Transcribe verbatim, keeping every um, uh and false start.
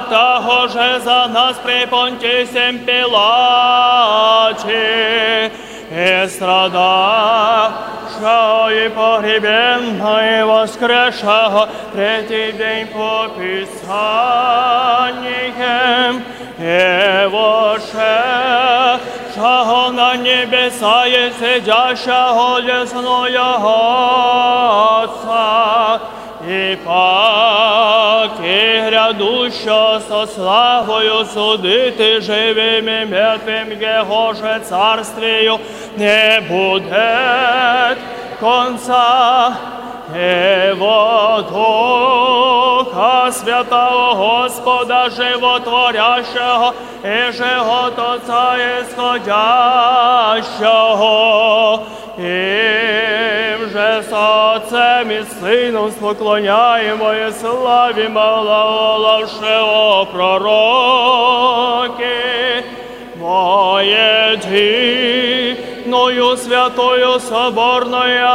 Того же за нас при Понтием Пилате, и страдавшего, и погребенного, и воскресшего третий день по Писаниям, и вошедшего на небеса, и сидящего одесную Отца, и пак и грядущего со славою судити живым и мертвым, Егоже царствию не будет конца, и во Духа Святого Господа Животворящего, и же от Отца исходящего, им же со Отцем и Сыном споклоняємо и славимо, глаголавши о пророки: во єдиною святою соборною